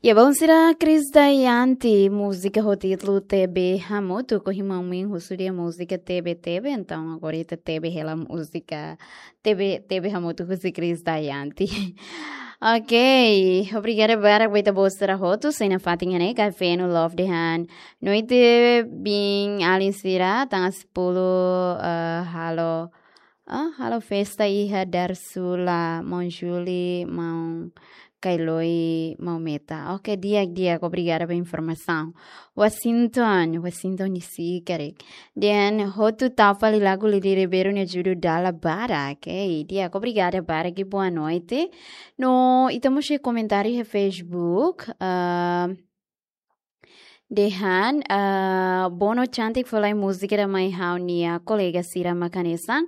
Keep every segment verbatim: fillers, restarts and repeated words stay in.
Ya, bom, sira Chris Dayanti, múzika ho títulu Tebe Hamutuk, ho irmaun Min husu dehan múzika Tebe Tebe, entaun agora ita tebe hela múzika Tebe, Tebe Hamutuk husi Chris Dayanti. Ok, obrigada barak ba ita-boot sira hotu, sei nafatin iha ne'e, Kafeno Love dehan. Noite bin alin sira, tanggal sepuluh, eh, halo, ah, halo festa iha Darsula, maun Juli, maun Kailoi, maun Meta. Ok, di'ak, di'ak, obrigada ba informasaun. Washington, Washington D C, karik. Dehan, hotu tau fali lagu Lili Ribeiro nia judul Dala Barak. Ok, di'ak, obrigada barak, boa noite. No, ita mós iha komentáriu iha Facebook. Ah, dehan, ah, Bono Cantik fó lai múzika ida mai ha'u-nia kolega sira mak hanesan,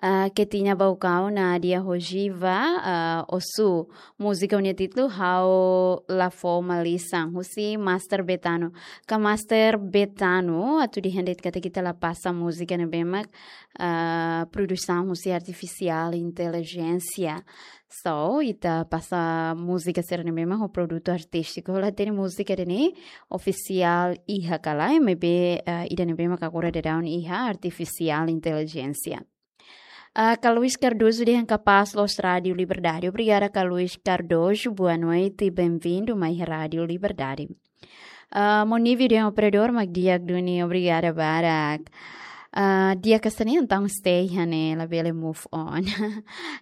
ah, Ketina Baucau, Nadia Rogiva, ah, Osu. Múzika nia títulu Ha'u La Fó Malisan, husi Master Betano. Ka Master Betano, atu dehan de'it katak ita la pasa múzika ne'ebé mak, ah, produsaun husi artifisiál intelijénsia. So, ita pasa múzika sira ne'ebé mak ho produtu artístiku. La hatene múzika ida-ne'e ofisiál iha ka lae, maibé, eh, ida ne'ebé mak agora daudaun iha artifisiál intelijénsia. Ah, Carlos Cardoso dehan kapás loos Rádio Liberdade. Obrigada, Carlos Cardoso. Boa noite, bem-vindo mai Rádio Liberdade. Ah, maun Nivi dehan operadór mak di'ak duni, obrigada barak. Ah, di'ak hanesan ne'e entaun stay iha ne'e, labele move on.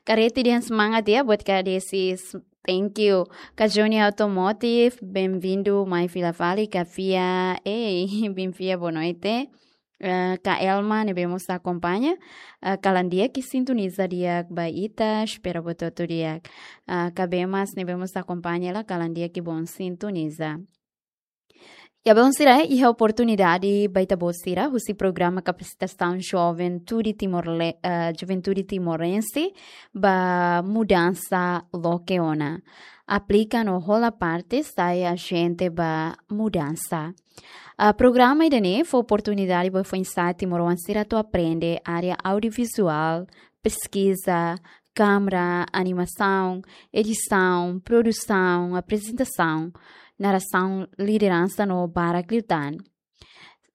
Kareti dehan semangat ya buat Kak Desi, s-, thank you. Kak Johnny Automotive, bem-vindo mai fila fali, Kak Fia, ei, bem Fia, boa noite. Eh, Kak Elma ne'ebé mós akompaña, eh, kalan di'ak ke sintoniza di'ak ba ita, espera buat hotu di'ak. Ah, Kak Bemas ne'ebé mós akompaña hela, kalan di'ak ke bom sintoniza. Ya, bom, sira, iha oportunidade ba ita-boot sira husi programa kapasitasaun Juventude Timor-Le-, eh, Juventude Timorense ba mudansa loke ona. Aplika no hola parte, sai ajente ba mudansa. Ah, programa ida-ne'e fó oportunidade ba foin-sa'e timoroan sira atu aprende área audiovizuál, peskiza, kámara, animasaun, edisaun, produsaun, aprezentasaun, narasaun, lideransa no barak liután.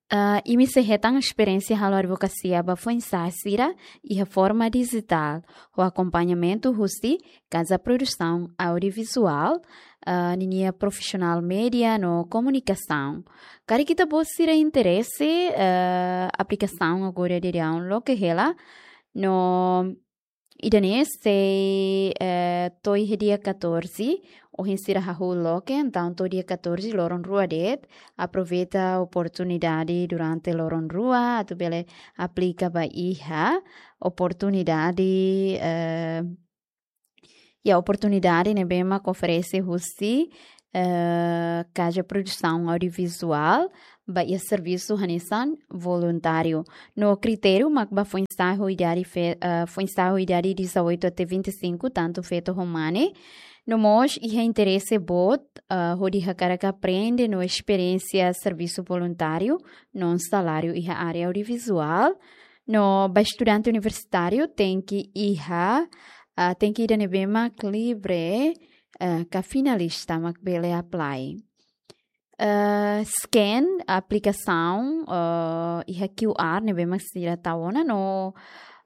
Ah, imi sei hetan esperiénsia halo advokasia ba foin-sa'e sira iha forma dijitál, ho akompañamentu husi Kaza Produsaun Audiovizuál, ah, ninia profisionál média no komunikasaun. Karik ita-boot sira interese, eh, aplikasaun agora daudaun loke hela, no ida-ne'e sei, eh, to'o iha dia catorze, ohin sira hahú loke, entaun to'o dia catorze, loron rua de'it, aproveita oportunidade durante loron rua, atu bele aplika ba iha oportunidade, eh, ya, oportunidade ne'ebé mak oferese husi, eh, Kaza Produsaun Audiovizuál, ba iha servisu hanesan voluntáriu. No kritériu mak ba foin-sa'e ho idade fe-, eh, foin-sa'e ho idade dezoito até vinte e cinco, tantu feto ho mane. No mós iha interese boot, eh, hodi hakarak aprende no esperiénsia servisu voluntáriu, no saláriu iha área audiovizuál. No ba estudante universitáriu tenke iha, ah, tenke ida ne'ebé mak livre, eh, ka finalista mak bele apply. Eh, scan aplikasaun, eh, iha Q R ne'ebé mak sira tau ona no,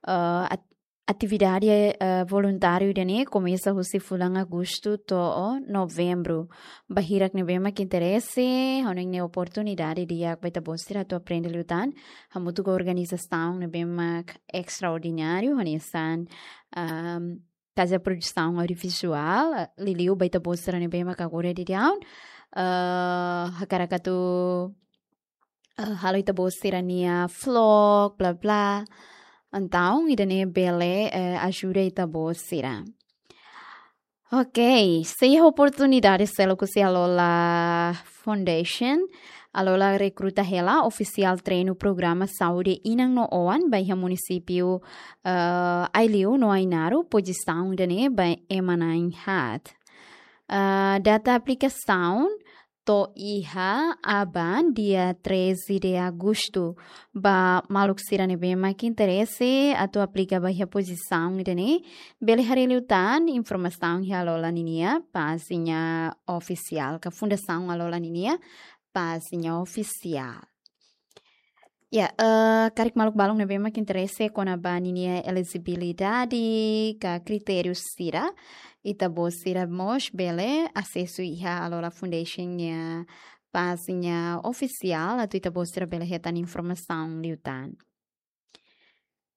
eh, at-, atividade, eh, voluntáriu ida-ne'e komesa husi fulan Agostu to'o Novembru. Ba hirak ne'ebé mak interese, ha'u hanoin ne'e oportunidade di'ak ba ita-boot sira atu aprende liután, hamutuk ho organizasaun ne'ebé mak estraordináriu, hanesan, ehm, Kaza Produsaun Audiovizuál, eh, liuliu ba ita-boot sira ne'ebé mak agora daudaun, eh, hakarak atu, eh, halo ita-boot sira-nia vlog, bla, bla. Entaun, ida-ne'e bele, eh, ajuda ita-boot sira. Ok, sei iha oportunidade seluk husi Alola Foundation. Alola rekruta hela ofisiál treinu programa saúde inan no oan ba iha munisípiu, eh, Aileu no Ainaro, pozisaun ida-ne'e ba ema na'in haat. Eh, data aplikasaun, to'o iha aban dia treze de agosto. Ba maluk sira ne'ebé mak interese atu aplika ba iha pozisaun ida-ne'e, bele haree liután informasaun iha Alola ninia pájina ofisiál, ka Fundasaun Alola ninia pájina ofisiál. Ya, eh, karik maluk balun ne'ebé mak interese kona-ba ninia elejibilidade ka kritériu sira, ita-boot sira mós bele asesu iha Alola Foundation nia pájina ofisiál, atu ita-boot sira bele hetan informasaun liután.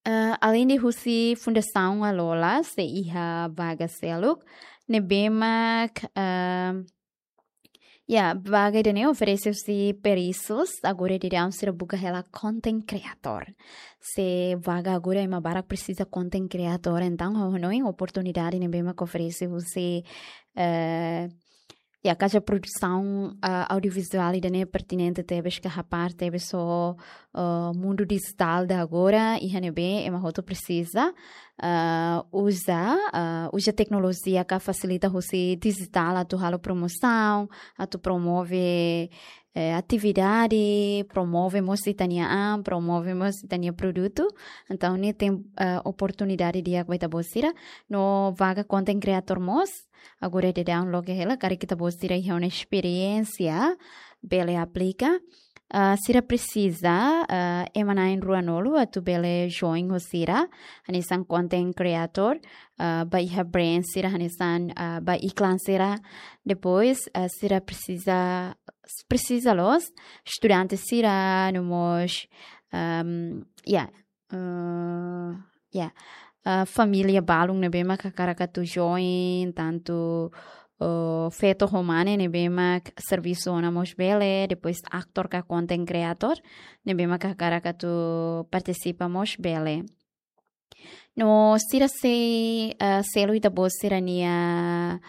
Eh, alende husi Fundasaun Alola, sei iha vaga seluk ne'ebé mak, eh, ya, vaga ida-ne'e oferese husi peristas, agora daudaun sira buka hela content creator. Se vaga agora ema barak presiza content creator, entaun ha'u hanoin oportunidade ne'ebé mak oferese husi, eh, ya, kaza produsaun, ah, audiovizuál ida-ne'e pertinente tebes ka hapar tebes ho, ah, mundu dijitál ida agora, iha ne'ebé ema hotu presiza, ah, uza, ah, uza teknolojia ka fasilita husi dijitál atu halo promosaun, atu promove, eh, atividade, promove mós ita-nia an, promove mós ita-nia produtu. Entaun, ne'e iha, eh, oportunidade di'ak ba ita-boot sira. No vaga content creator mós, agora daudaun loke hela, karik ita-boot sira iha ona esperiénsia, bele aplika. Ah, sira presiza, ah, ema na'in ruanulu atu bele join ho sira, hanesan content creator, ah, ba iha brand sira, hanesan, ah, ba iklan sira. Depois, ah, sira presiza, presiza loos estudante sira, no mós, ehm, ya, eh, ya, eh, família balun ne'ebé mak hakarak atu join, tantu, eh, feto ho mane ne'ebé mak servisu ona mós bele, depois ator ka content creator ne'ebé mak hakarak atu partisipa mós bele. No sira sei, eh, selu ita-boot sira-nia,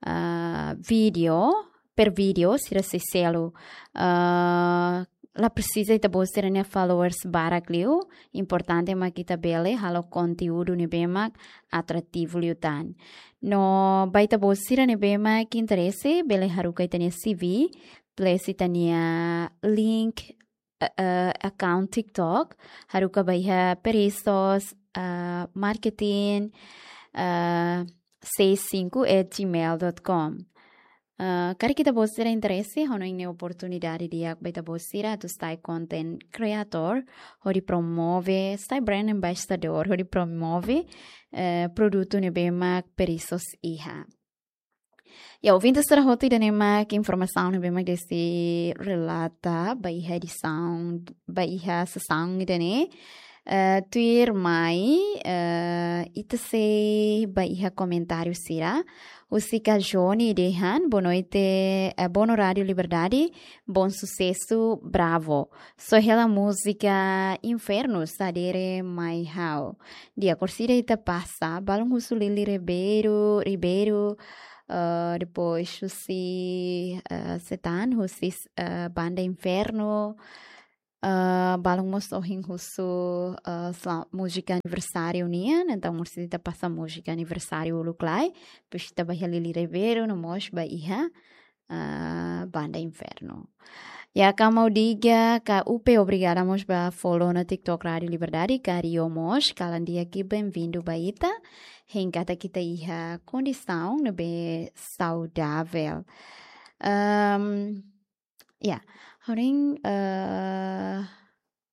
eh, vídeo, per vídeo, sira sei selu, eh, la presiza ita-boot sira-nia followers barak liu, importante mak ita bele halo konteúdu ne'ebé mak atrativu liután. No ba ita-boot sira ne'ebé mak interese, bele haruka ita-nia C V, plus ita-nia link, eh, eh, account TikTok, haruka ba iha peristas, eh, marketing, eh, seis cinco at gmail dot com. Eh, karik ita-boot sira interese, ha'u hanoin ne'e oportunidade di'ak ba ita-boot sira atu sai content creator, hodi promove, sai brand ambassador, hodi promove, eh, produtu ne'ebé mak peristas iha. Ya, ouvinte sira hotu, ida-ne'e mak informasaun ne'ebé mak Desi relata ba iha edisaun, ba iha sesaun ida-ne'e. Eh, tuirmai, eh, ita sei ba iha komentáriu sira. Husi Kajoni dehan, boa noite, eh, boa noite Rádio Liberdade, bom sucesso, bravo. Só hela múzika Inferno, sadere mai ha'u. Di'ak, orsida ita pasa, balun husu Lili Ribeiro, Ribeiro, eh, depois husi, eh, Setan, husi, eh, Banda Inferno, eh, balun mós ohin husu, eh, sela-, múzika aniversáriu nian, entaun orsida ita pasa múzika aniversáriu uluk lai, depois ita ba iha Lili Ribeiro, no mós ba iha, eh, Banda Inferno. Ya, Kamau Diga, ka Upe, obrigada mós ba follow ona TikTok Rádio Liberdade, ka Rio mós, kalan di'ak, bem-vindo ba ita. Hein katak ita iha kondisaun ne'ebé saudavel. Ehm, ya, ha'u hanoin, eh,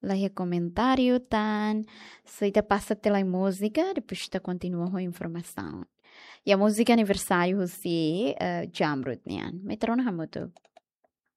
la iha komentáriu tan, só ita pasa tiha lai múzika, depois ita kontinua ho informasaun. Ya, múzika aniversáriu husi, eh, Jamrut nian. Mai ita rona hamutuk.